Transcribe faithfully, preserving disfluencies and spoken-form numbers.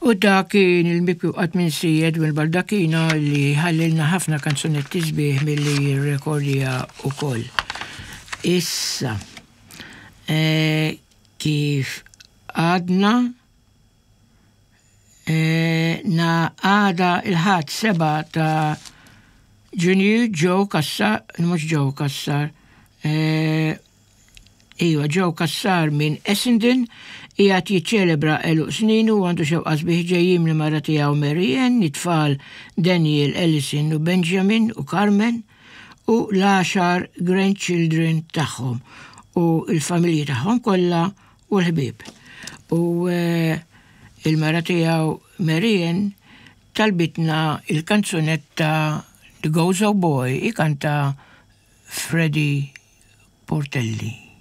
U dak kien il-mibki qatt minsi Edwin Baldacchino li ħallilna ħafna kanzunetti sbieħ milli jirrekordja ukoll. Issa, e, kif għadna e, na għada il-Ħadd sebgħa ta' Ġunju Joe Cassar, mhux Joe Cassar, e, Iva, Joe Cassar minn Essendon qiegħed jiċċelebra għeluq sninu u għandu xewqa sbieħ ġejjin lill-mara tiegħu Mary Ann, it-tfal Daniel, Ellison u Benjamin u Carmen u l-għaxar grandchildren tagħhom u il-familji tagħhom kollha u l-ħbieb. U eh, il-mara tiegħu Mary Ann talbitna il-kanzunetta The Gozo Boy ikanta Freddie Portelli.